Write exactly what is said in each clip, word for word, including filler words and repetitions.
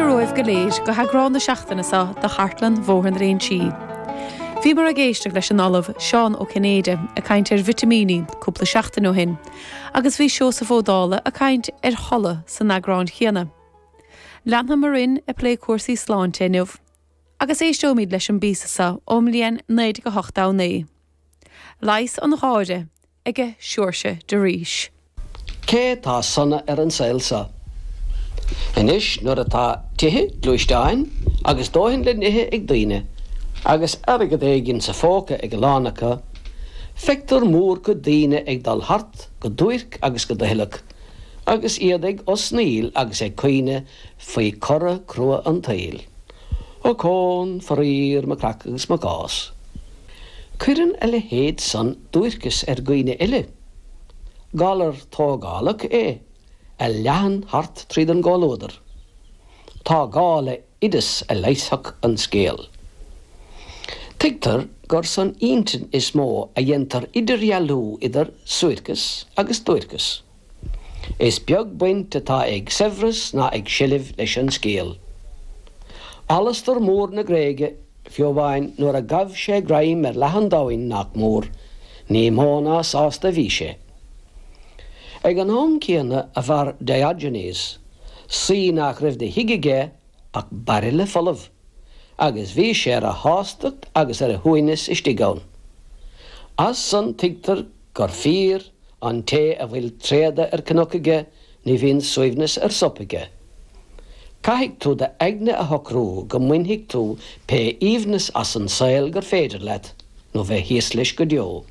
Fáilte romhaibh go léir go heagrán na seachtaine seo de Chartlann Bhóthar na Léinsí. Bhíomar ag éisteacht leis an Ollamh Seán Ó Cinnéide ag caint ar vitimíní cúpla seachtain ó shin, agus bhí Seosamh Ó Dála ag caint ar chodladh san eagrán chéanna. Leanfaimid orainn ag plé cúrsaí sláinte inniu, agus éisteoimid leis an bpíosa seo ón mbliain naoi déag a hocht a naoi. Leigheas an gháire ag Seoirse de Rís. Cé tá sona ar an saol seo? Anois nuair atá tithe gluaisteáin agus dóthain le n-ithe ag daoine, agus airgead éigin sa phóca ag a lán acu, feictear mórchuid daoine ag dul thart go duairc agus go doicheallach, agus iad ag osnaíl agus ag caoineadh faoi chora crua an tsaoil. Ochón, faraor, mo chreach agus mo chás. Cuireann a leithéid san duairceas ar dhaoine eile. Galar tógálach é a leathann thart tríd an gcomhluadar. Tá gá le oideas a leigheasfadh an scéal. Tuigtear gur san intinn is mó a dhéantar idirdhealú idir suairceas agus duairceas. Is beag baint atá ag saibhreas ná ag seilbh leis an scéal. Alastar Mór na Gréige fiú amháin nuair a ghabh sé greim ar leath an domhain nach mór, ní mó ná sásta bhí sé. Ag an am céanna a mhair Diogenes, saoi nach raibh de thigh aige ach bairille folamh. agus bhí sé ar a shástacht agus ar a shuaimhneas istigh ann. As san tuigtear gur fíor an té a bhfuil tréada ar cnoc aige ní bhíonn suaimhneas ar sop aige. Caithfidh tú d'aigne a shocrú go mbainfidh tú pé aoibhneas as an saol gur féidir leat, nó bheith thíos leis go deo.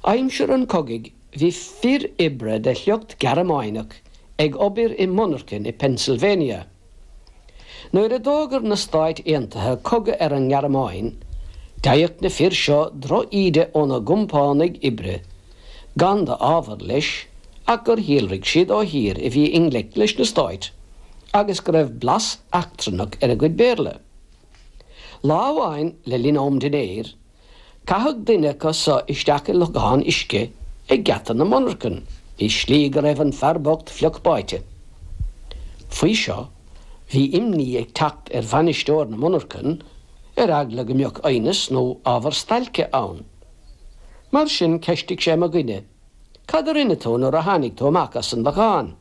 Aimsir an chogaidh bhí fir oibre de shliocht Gearmánach ag obair i monarcha i Pennsylvania. Nuair a d'fhógair na Stáit Aontaithe cogadh ar an nGearmáin, d'fhaigheadh na fir seo drochíde óna gcompánaigh oibre, gan d'ábhar leis ach gur shíolraigh siad ó thír a bhí i ngleic leis na Stáit, agus go raibh blas eachtrannach ar a gcuid Béarla. Lá amháin le linn am dinnéir, caitheadh duine acu seo isteach i lochán uisce ag geata na monarchan, i slí go raibh an fear bocht fliuch báite. Faoi seo, bhí imní ag teacht ar bhainisteoir na monarchan ar eagla go mbeadh aighneas nó ábhar stailce ann. Mar sin cheistigh sé mo dhuine, Cad a rinne tú nuair a tháinig tú amach as an lochán.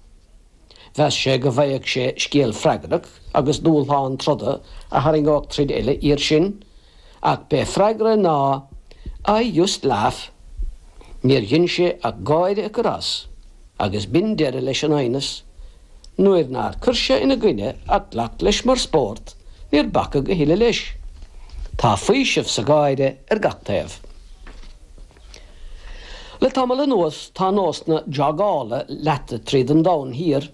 Mheas sé go bhfaigheadh sé scéal freagrach agus dúshlán troda a tharraingeodh troid eile iar sin, ach b'é freagra ná I just laugh. Níor dhein sé ach gáire a chur as, agus b'in deireadh leis an aighneas, Nuair nár chuir sé ina gcoinne ach ghlac leis mar spórt, níor bacadh a thuilleadh leis. Tá faoiseamh sa gháire ar gach taobh. Le tamall anuas tá nós na jogála leata tríd an domhan thiar.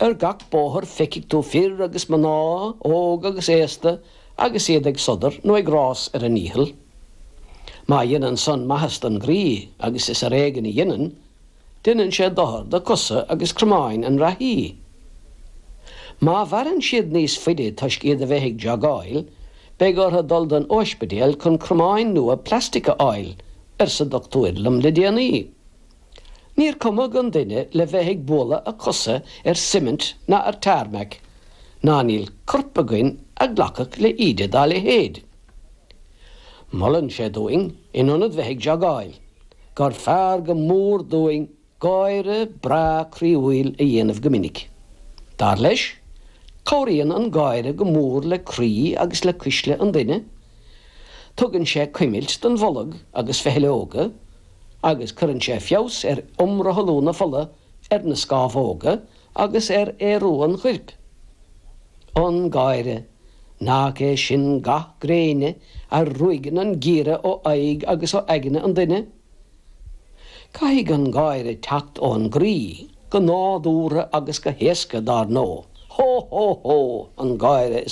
Ar gach bóthar feicfidh tú fir agus mná, óg agus aosta, agus iad ag sodar nó ag rás ar a ndícheall. Má dhéanann san maitheas don gcroí agus is ar éigean a dhéanann, Déanann sé dochar do chosa agus cromáin an reathaí. Má mhaireann siad níos faide toisc iad a bheith ag jogáil, beidh orthu dul don ospidéal chun cromáin nua plastic a fháil, arsa dochtúir liom le déanaí. Níor cumadh an duine le bheith ag bualadh a chosa ar cement ná ar tarmac, ná níl corp againn a ghlacfadh le íde dá leithéid. Molann sé dúinn in ionad bheith ag jogáil, gur fearr go mór dúinn gáire breá croíúil a dhéanamh go minic. Dar leis, cabhraíonn an gáire go mór le croí agus le cuisle an duine, tugann sé cuimilt don bholg agus feitheoga, agus cuireann sé feabhas ar iomrothlú na fola ar na scámhóga agus ar aerú an choirp. An gáire, nach é sin ga gréine a ruaigeann an geimhreadh ó aghaidh agus ó aigne an duine? Caithfidh an gáire teacht ón gcroí, go nádúrtha agus go héasca dar ndóigh. Hó hó hó an gáire is